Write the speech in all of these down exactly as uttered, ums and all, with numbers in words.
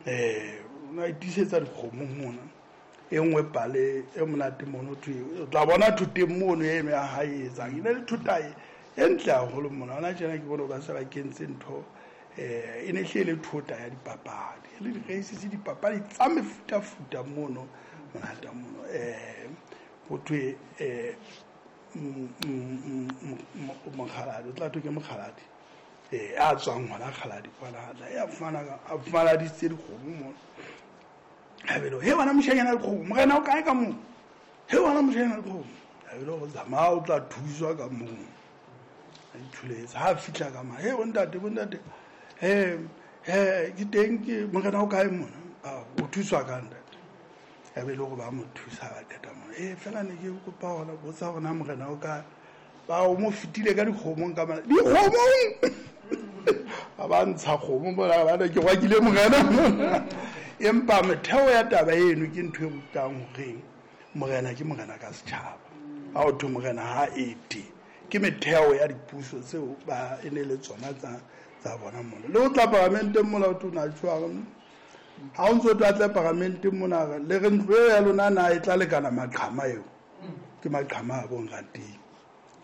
Eh o na itisetsa dikgomo mona. E nngwe pale e monate mono thwe o tla bona thoteng mono eno ya hae e etsang. E ne le thota e e ntle haholo mona. Hona tjena ke bone ba se ba kentse ntho eh e ne hle e le thota ya dipapadi. E le di-races dipapadi tsa mefutafuta mono monate mono. Eh ho thwe eh mokgaladi o tla thwe ke mokgaladi eh a tswang hona Kgaladi kwana tla ya fumana a fumana ditse dikgomo mono. Ha belo he wena moshanyana dikgomo morena o kae ka moo, he wena moshanyana dikgomo. Ha belo go tsamaya o tla thuswa ka moo. A ithuletse ha fihla ka ma he bontate bontate he he ke teng ke morena o kae mona, o thuswa ka ntate. Ya be le hore ba mo thusa ba qeta mona. Eh fela ne ke kopa hona botsa hore na morena o kae. Ba o mo fetile ka dikgomong ka mona. Dikgomong! Ba ba ntsha kgomo mona ba ne ke rwakile morena mona. Empa metheo ya taba eno ke ntho e rutang hore morena ke morena ka setjhaba. Ha o thwe morena ha ete. Ke metheo ya dipuso tseo ba e ne le tsona tsa tsa bona mona. Le ho tla paramenteng mona o tona tshwara. Ha o ntso tla tla paramenteng mona le re ntlo ya lona na e tla lekana maqhama eo. Ke maqhama a bongateng.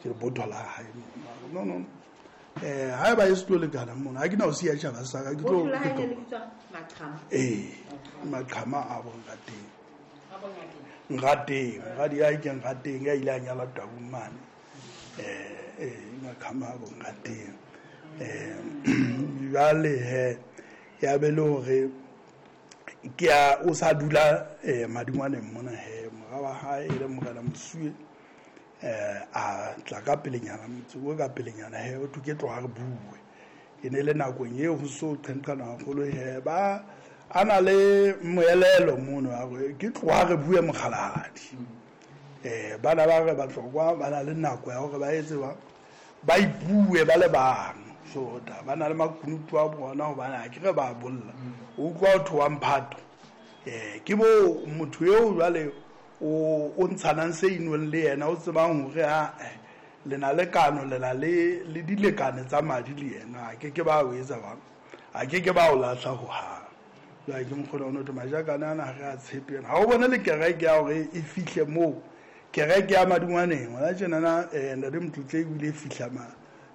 Ke botho la hae. No no. Eh ha ba e se tlo lekana mona. Ha ke na o siya tjhaba sa ka ke tlo Botho la hae le bitswa maqhama. Eh maqhama a bongateng. A bongateng. Ngateng, moradi ya ke ngateng ya ile a nyala Taung mane. Eh eh maqhama a bongateng. Eh jwale he ya be le hore ke a o sa dula eh madingwaneng mona he mora wa hae e le morena Mosuwe eh a tla ka pelenyana motse o ka pelenyana he o thwe ke tloha re bue. E ne le nakong eo ho so qenqana haholo he ba a na le moelelo mono a re ke tloha re bue mokgalahadi. Eh bana ba re Batlokwa ba na le nako ya hore ba etse ba ba ipue ba le bang. So da ba na le makunutu a bona hobane ha ke re ba bolla. O utlwa ho thwe wa mphato. Eh ke bo motho eo jwale o o ntshanang se inweng le yena o tsebang hore ha le na le kano le na le le dilekane tsa madi le yena a ke ke ba o etsa ba a ke ke ba o lahla ho hang. Jwale ke mokgona o no majakane ana ha re a tshepe yena. Ha o bone le kereke ya hore e fihle moo kereke ya madingwaneng hona tjenana eh Ntate Motlotle o ile fihla ma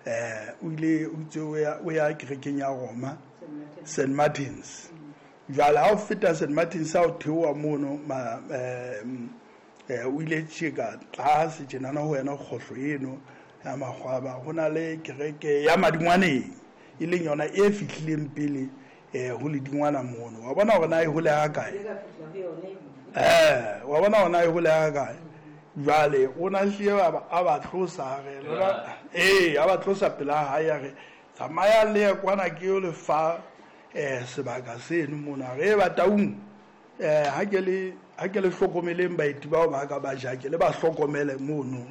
eh o ile o itse o ya o ya kerekeng ya Roma Saint Martins. Jwale ha o feta Saint Martins ha o theoha mono ma eh eh o ile tjeka tlase tjenana ho wena kgohlo eno ya makgwaba ho na le kereke ya madingwaneng e leng yona e fihlileng pele eh ho ledingwana mono. Wa bona hore na e hole ha kae? Eh wa bona hore na e hole ha kae? Jwale o na hlile a ba a ba tlosa re lona eh a ba tlosa pela hae a re tsamaya le ye kwana ke yo le fa eh sebaka seno mona re ba Taung eh ha ke le ha ke le hlokomeleng baeti bao ba ka ba jake le ba hlokomele mono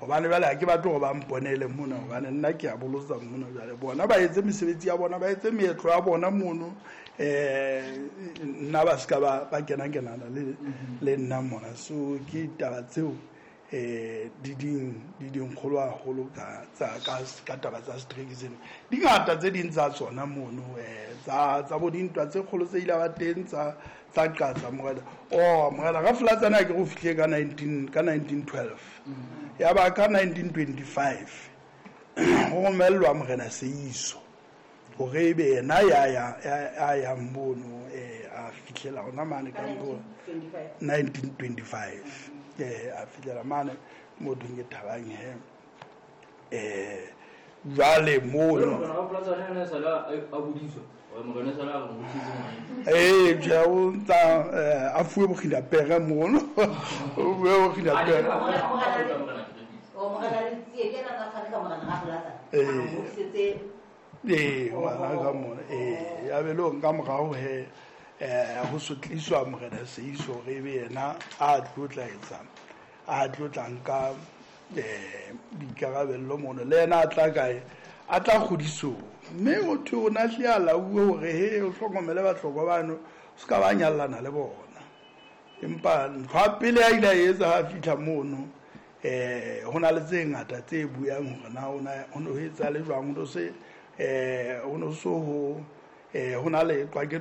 hobane jwale ha ke batle hore ba mponele mona hobane nna ke a bolotsa mona jwale bona ba etse mesebetsi ya bona ba etse meetlo ya bona mono eh nna ba ska ba ba kena kenana le le nna mona. So ke taba tseo eh di ding di ding kgolo haholo ka tsa ka ka taba tsa strike tseno di ngata tse ding tsa tsona mono eh tsa tsa bo dintwa tse kgolo tse ile ba teng tsa tsa qatsa morena oh morena ka Flatsana ke go fihle ka nineteen ka nineteen twelve ya ba ka nineteen twenty-five ho romellwa morena Seiso hore ebe yena ya ya ya ya mono eh a fihlela hona mane ka mo nineteen twenty-five eh a fihlela mane mo thweng ke Thabang he eh jwale mono Morena wa Flatsana ene sala a bodiswa morena sala a mo bodisitse ngwana eh ja o ntsa a fuwe bokgina pere mono o fuwe bokgina pere O morena le tsie ke yena a tshwane ka morena ga Flatsana Eh. a mo bodisitse eh ngwana ka mona eh ya be lo nka morao he eh ho sotliswa morena Seiso hore ebe yena a tlotla etsang a tlotlang ka eh boikarabello mono le yena a tla kae a tla kgodisong mme motho o na hle a lauwe hore he o hlokomele Batlokwa bano o ska ba nyallana le bona. Empa ntho ya pele a ile a etsa ha fihla mono eh ho na le tse ngata tse buang hore na o na ho no etsa le jwang ho no se eh ho no so ho eh ho na le qwake